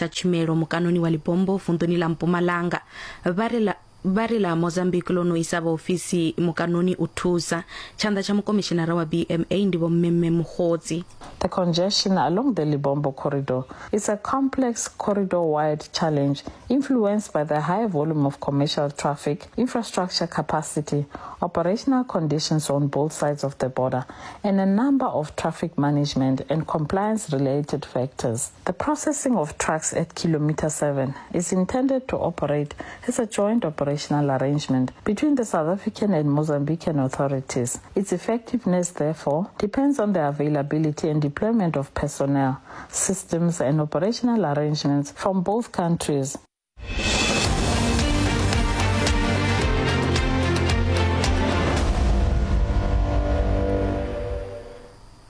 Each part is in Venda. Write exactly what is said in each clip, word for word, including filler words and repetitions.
khwinisa tshumelo mukanoni wa Libombo vunḓuni ḽa Mpumalanga. Vha ri ḽa vha ri ḽa Mozambique ḽo no isa vhaofisi mukanoni u thusa. Tshanḓa tsha mukomishinara wa B M A ndi Vho Mmemme Mukhodzi. The congestion along the Libombo corridor is a complex corridor-wide challenge influenced by the high volume of commercial traffic, infrastructure capacity, operational conditions on both sides of the border, and a number of traffic management and compliance-related factors. The processing of trucks at kilometer seven is intended to operate as a joint operation arrangement between the South African and Mozambican authorities. Its effectiveness, therefore, depends on the availability and deployment of personnel, systems and operational arrangements from both countries.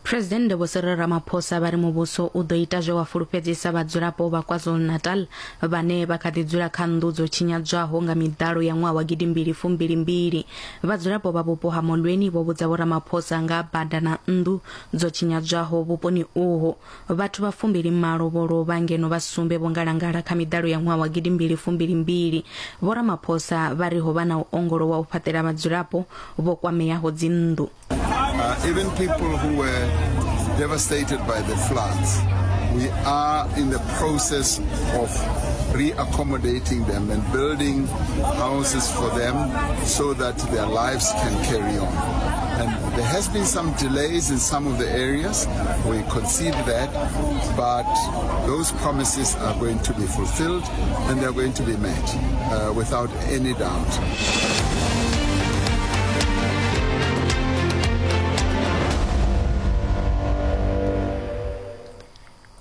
President Vho Cyril Ramaphosa vha ri muvhuso u ḓo ita zwe wa fulufhedzisa vhadzulapo vha KwaZulu-Natal vhane vha kha ḓi dzula kha nnḓu dzo tshinyadzwaho nga miḓalo ya ṅwaha wa gidimbili fumbili mbili. Vhadzulapo vha vhupo ha Molweni vho vhudza Vho Ramaphosa nga bada na nnḓu dzo tshinyadzwaho vhuponi uho. Vhathu vha fumbili malo vho lovha ngeno vha sumbe vho ngalangala kha miḓalo ya ṅwaha wa gidimbili fumbili mbili. Vho Ramaphosa vha ri ho vha na u ongolowa u fhaṱela vhadzulapo vho kwameaho dzinnḓu. Uh, even people who were devastated by the floods, we are in the process of reaccommodating them and building houses for them so that their lives can carry on. And there has been some delays in some of the areas. We concede that, but those promises are going to be fulfilled and they're going to be met uh, without any doubt.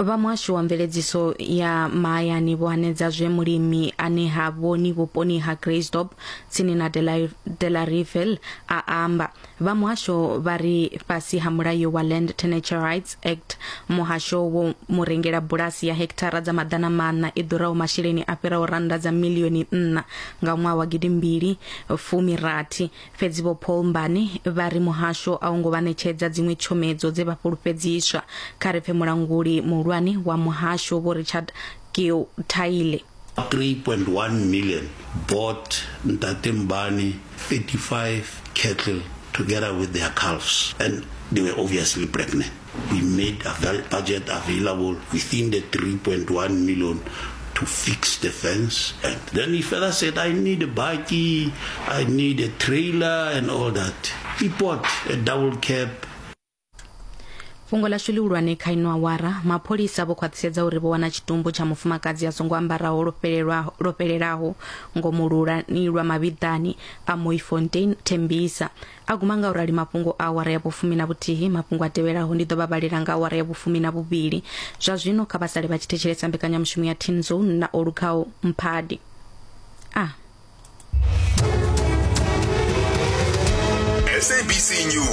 Vha muhasho wa mveledziso ya mahayani vho hanedza zwe mulimi ane ha vhoni vhuponi ha Greystop tsini na Delareyville a amba. Vha muhasho vha ri fhasi ha mulayo wa Land Tenure Rights Act, muhasho wo murengela bulasi ya hekithara dza maḓana maṋa i ḓuraho masheleni a fhiraho rannda dza milioni nṋa nga ṅwaha wa gidimbili fumi rathi. Fhedzi Vho Paul Mbane vha ri muhasho a u ngo vha ṋetshedza dziṅwe tshomedzo dze vha fhulufhedziswa. Kha ri pfe mulanguli muhulwane wa muhasho Vho Richard Keothaile. three point one million bought Ntate Mbane thirty-five cattle together with their calves, and they were obviously pregnant. We made a budget available within the three point one million to fix the fence. And then he further said, I need a bakkie, I need a trailer and all that. He bought a double cab. Fhungo ḽashu ḽihulwane kha ino awara, mapholisa vho khwaṱhisedza uri vho wana tshitumbu tsha mufumakadzi a songo ambaraho lwo fhelelaho ngomu lulani lwa mavhiḓani a Mooifontein Tembisa. A guma nga urali mafhungo a awara ya vhufumi na vhuthihi. Mafhungo a tevhelaho ndi ḓo vha vhalela nga awara ya vhufumi na vhuvhili. Zwa zwino kha vha sale vha tshi thetshelesa mbekanyamushumo ya Teen Zone na Olukhao Mphadi. Ah. S A B C News.